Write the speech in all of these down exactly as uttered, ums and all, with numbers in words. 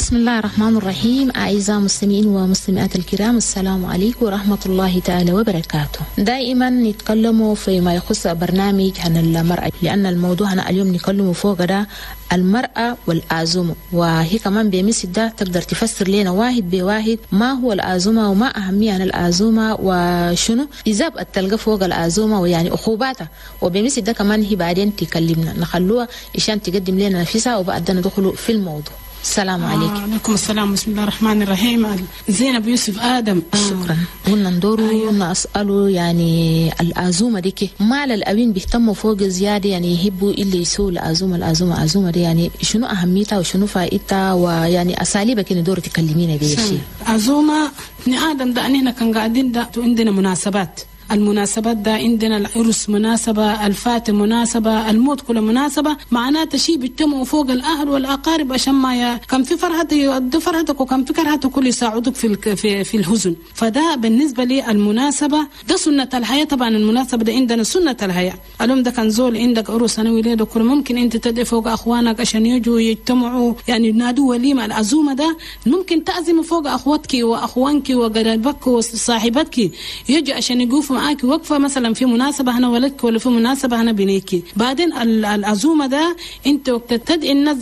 بسم الله الرحمن الرحيم. أعزائي المستمعين ومستمعات الكرام، السلام عليكم ورحمة الله تعالى وبركاته. دائما نتكلم فيما يخص برنامج عن المرأة، لأن الموضوع أنا اليوم نتكلم فوق ده المرأة والعزومة، وهي كمان بمثل ده تقدر تفسر لنا واحد بواحد ما هو العزومة وما أهمية عن العزومة وشنو إذا تلقى فوق العزومة ويعني عقوباتها، وبمثل ده كمان هي بعدين تكلمنا نخلوها عشان تقدم لنا نفسها وبعدين ندخل في الموضوع. السلام عليكم. آه عليكم السلام. بسم الله الرحمن الرحيم. زينب يوسف آدم. شكرا. قلنا ندورو أيوه. نسأله يعني العزومة دي ما الأوين بيهتموا فوق زيادة، يعني يحبوا اللي يسووا العزومة العزومة العزومة دي، يعني شنو أهميتها وشنو فائدتها ويعني أساليبك ندور تكلمينا بيه شيء. عزومة ابن آدم ده أننا كان قاعدين ده عندنا مناسبات، المناسبات ده عندنا العرس مناسبة، الفاتح مناسبة، الموت كله مناسبة، معناته شيء بيجتمعوا فوق الأهل والأقارب عشان ما ي... كان في فرحة يؤدوا فرحتك وكان في كرهتك كل يساعدوك في الك... في في الحزن. فده بالنسبة لي المناسبة ده سنة الحياة. طبعا المناسبة ده عندنا سنة الحياة. اليوم ده كان زول عندك عرس أنا ولادك كل ممكن أنت تدعي فوق أخوانك عشان يجوا يجتمعوا، يعني ينادوا وليمة. العزومة ده ممكن تعزم فوق أخواتك وأخوانك وقرايبك وصاحبتك يجوا عشان يقوفوا معاك وقفة مثلا في مناسبة هنا ولدك ولا في مناسبة هنا بنيكي. بعدين العزومة ده انت وقت تدعي الناس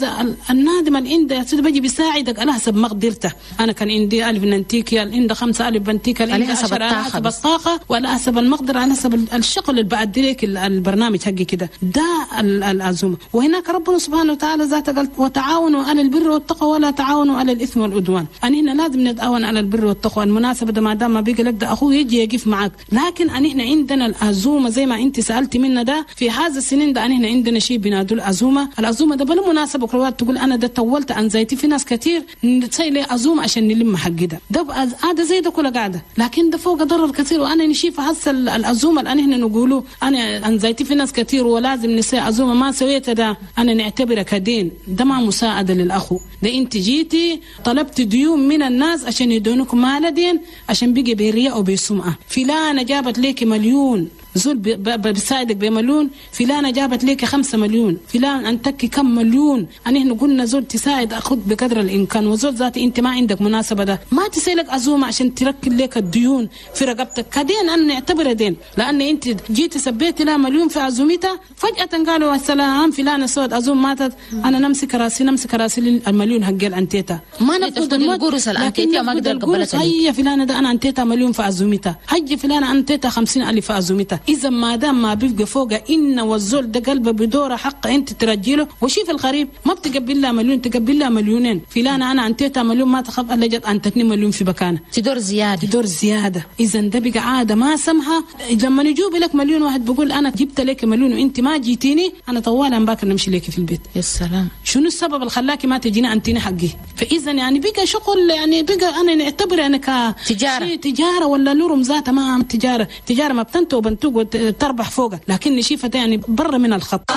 النادم اللي عنده بيجي بيساعدك على حسب مقدرته. انا كان عندي ألف ننتيكي، عندي خمسة ألف بنتيكي، على حسب الطاقة، حسب الطاقة وعلى حسب المقدرة، على حسب الشغل اللي بعدي لك البرنامج حقي كده. ده العزومة. وهناك ربنا سبحانه وتعالى ذاته قال وتعاونوا على البر والتقوى ولا تعاونوا على الإثم والعدوان. أنا هنا لازم نتعاون على البر والتقوى. المناسبة ده ما دام ما بيجي لك ده أخوه يجي يقف معك. لكن أن إحنا عندنا العزومة زي ما أنت سألتي منا ده في هذا السنين ده أن إحنا عندنا شيء بنادوا العزومة. العزومة ده بالمناسبة كروات تقول أنا ده طولت عن زيتي، في ناس كتير نتسيل لي عزومة عشان نلم حق ده ده هذا زي ده كله قاعدة، لكن ده فوق ضرر كثير. وأنا نشيف هسه العزومة الآن إحنا نقوله أنا عن زيتي في ناس كتير ولازم نسي عزومة ما سويت ده أنا نعتبره كدين، ده ما مساعدة للأخو. ده أنت جيتي طلبت ديون من الناس عشان يدونك مال دين عشان بيجي برياء وبسمعة. فلانة جابت ليك مليون زول بيساعدك بمليون، فلانة جابت ليك خمسة مليون، فلان أنتك كم مليون. أنا إحنا قلنا زول تساعد أخذ بقدر الإمكان، وزول ذاتي أنت ما عندك مناسبة ده ما تسيلك عزومة عشان تركل لك الديون في رقبتك كدين. أنا نعتبره دين، لأن أنت جيت سبيت لها مليون في عزومتها فجأة قالوا السلام فلانة سوت عزوم ماتت، أنا نمسك راسي نمسك راسي المليون حق الأنتيتا ما نفقد القرص الأنتيتا ما أقدر قبلتها. هيا فلانة ده أنا أنتيتا مليون في عزومتها، هيا فلانة أنتيتا خمسين ألف في عزومتها. إذا ما دام ما بيبقى فوق إن والزول ده قلبه بدوره حق أنت ترجيله. وشيف الغريب ما بتقبل لها مليون تقبل لها مليونين. فلانة أنا أنتيتها مليون ما تخاف إلا جت أنتتني مليون في مكانه تدور زيادة تدور زيادة. إذا ده بقى عادة ما سمها. لما نجوب لك مليون واحد بقول أنا جبت لك مليون وأنت ما جيتيني، أنا طوالا باكر نمشي لك في البيت. يا سلام، شنو السبب اللي خلاكي ما تجيني أنتيني حقي؟ فإذا يعني بقى شغل، يعني بقى أنا نعتبر أنا كتجارة تجارة ولا لورم ذاتها ما تجارة تجارة ما بتنتو وبنتوق وتربح فوقك، لكن نشيفة يعني برا من الخط.